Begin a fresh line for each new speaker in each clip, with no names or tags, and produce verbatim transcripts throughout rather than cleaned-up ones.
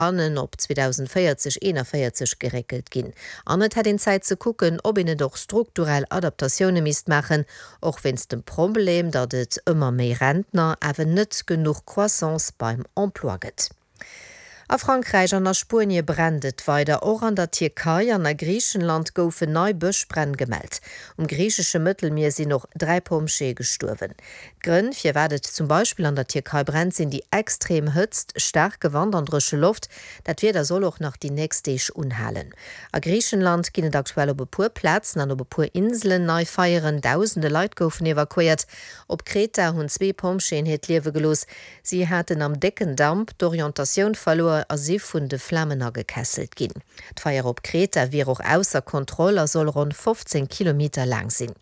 hannen op zweedausendvéierzeg eenavéierzeg geréckelt ginn. An et hätt een Zäit ze kucken, ob een net och strukturell Adaptatioune misst maachen, och wéinst dem Problem, datt et ëmmer méi Rentner, awer net genuch Croissance beim Emploi gëtt. A Frankräich an a Spuenie brennt et weider. Och an der Tierkei an a Griichenland goufen nei Bëschbränn gemellt. Um griichesche Mëttelmier sinn och dräi Pompjeeë gestuerwen. D'Grënn, firwat et zum Beispill an der Tierkei brennt, sinn déi extrem Hëtzt, staarke Wand an dréche Loft. Dat Wieder soll och nach déi nächst Deeg unhalen. A Griichenland ginn et aktuell op e puer Plazen an op e puer Inselen nei Feieren. Dausende Leit goufen evakuéiert. Op Kreta hunn zwee Pompjeeën hiert Liewe gelooss. Si haten am décken Damp d'Orientatioun verluer a si vun de Flamen agekesselt ginn. D'Feier op Kreta wier och ausser Kontroll a soll ronn fofzéng Kilometer laang sinn.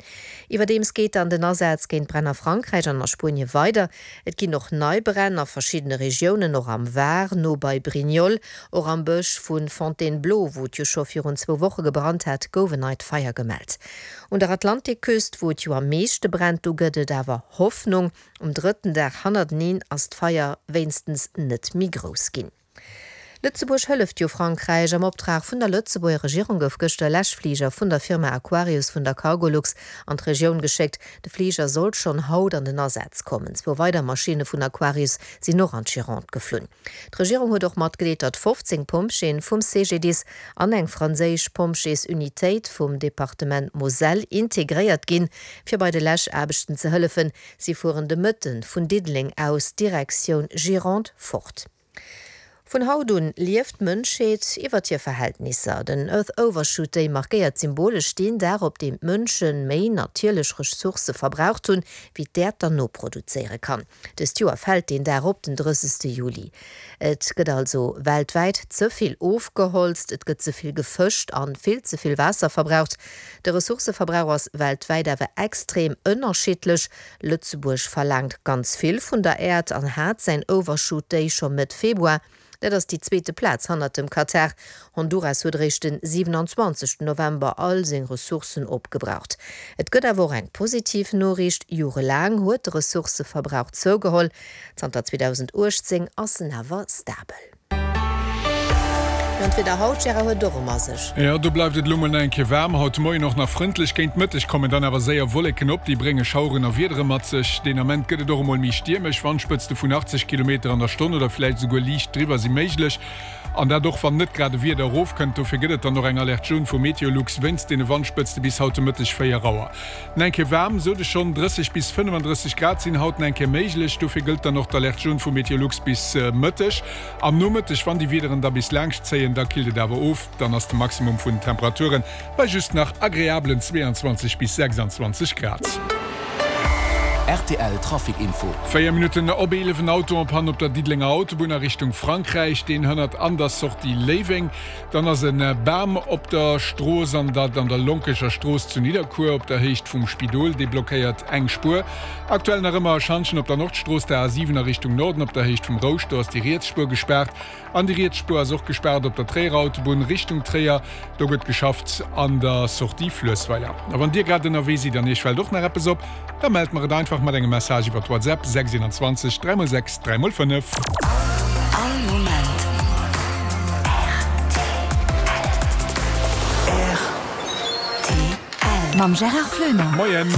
Iwwerdeems geet dann den Asaz géint d'Bränn a Frankräich an a Spuenie weider. Et ginn och nei Bränn a verschiddene Regiounen, och am Var, no bei Brignoles. Och am Bësch vu Fontainebleau, wou et jo scho virun zwou Woche gebrannt hat, gouf en neit Feier gemellt. Un der Atlantikküst, wou et jo am meeschte brennt, do gëtt et awer Hoffnung. Um drëtten Dag hannerteneen ass d'Feier wéinstens net méi grouss ginn. Lëtzebuerg hëlleft jo Frankräich. Am Optrag vun der Lëtzebuerger Regierung gouf gëschter e Läschfliger vun der Firma Aquarius vun der Cargolux an d'Regioun geschéckt. De Fliger sollt schonn haut an den Asaz kommen. Zwou weider Maschinne vun Aquarius sinn och an d'Gironde geflunn. D'Regierung huet och matgedeelt, datt fofzéng Pompjeeën vum C G D I S an eng franséisch Pompjeesunitéit vum Departement Moselle integréiert ginn, fir bei de Läschaarbechten ze hëllefen. Si fueren de Mëtten vun Diddeleng aus Direktioun Gironde fort. Vun haut un lieft d'Mënschheet iwwert hir Verhältnisser. Den Earth Overshoot Day markéiert symbolesch deen Dag, op deem d'Mënsche méi natierlech Ressourcë verbraucht hunn, wéi d'Äerd der noproduzéiere kann. Dëst Joer fält deen Dag op den drëssegste Juli. Et gëtt also weltwäit ze vill ofgeholzt, et gëtt ze vill gefëscht an vill ze vill Waasser verbraucht. De Ressourcëverbrauch ass weltwäit awer extrem ënnerschiddlech. Lëtzebuerg verlaangt ganz vill vun der Äerd an hat säin Overshoot Day scho Mëtt Februar. Dat ass déi zweete Plaz hannert dem Katar. Honduras huet eréischt den siewenanzwanzegsten November all seng Ressourcen opgebraucht. Et gëtt awer och eng positiv Noriicht, Jorelaang huet de Ressourcëverbrauch zougeholl, zanter zweedausenduechtzéng ass en awer stabel. Jo, an d'Wieder haut, Gérard, huet och erëm a sech.
Jo, do bleift et elo mol nach eng Kéier waarm. Haut de Moien och nach frëndlech. Géint Mëtteg kommen dann awer séier Wolleken op, déi brénge Schaueren a Wiedere mat sech. Deen Ament gëtt et och emol méi stiermesch, Wandspëtzte vun achtzeg Kilometer an der Stonn oder vläicht esouguer liicht driwwer si méiglech. An dat och wann net grad e Wieder erofkënnt. Dofir gëtt et dann och eng Alerte jaune vu Meteolux wéinst deene Wandspëtzte bis haut de Mëtteg véier Auer. No eng Kéier waarm, sot ech schonn, drësseg bis fënnefandrësseg Grad sinn haut no eng Kéier méiglech. Dofir gëllt dann och d'Alerte jaune vu Meteolux bis Mëtteg. Am Nomëtteg, wann déi Wiederen da bis laanscht zéien, da killt et awer of, dann ass de Maximum vun den Temperature bei just nach agreablen zweeanzwanzeg bis sechsanzwanzeg Grad.
Rtl Trafic Info.
Véier Minutten op eelef, en Auto en panne op der Diddelenger Autobunn a Richtung Frankräich, deen hënnert an der Sortie Léiweng. Dann ass e Bam op der Strooss an dat an der Lonkecher Strooss zu Nidderkuer op der Héicht vum Spidol, dee blockéiert eng Spuer. Aktuell nach ëmmer e Schantjen op der Nordstrooss, der A siwen a Richtung Norden op der Héicht vum Rouscht, do ass déi riets Spuer gespaart. An déi riets Spuer ass och gespaart op der Tréierer Autobunn Richtung Tréier, do gëtt geschafft an der Sortie Fluessweiler. A wann Dir grad ënnerwee sidd an Iech fält och nach eppes op, da mellt mer et einfach mat engem Message iwwer WhatsApp, sechs eenanzwanzeg dräi mol sechs dräi mol fënnef.
All Moment rtl. Mam Gérard Floener.
Moien.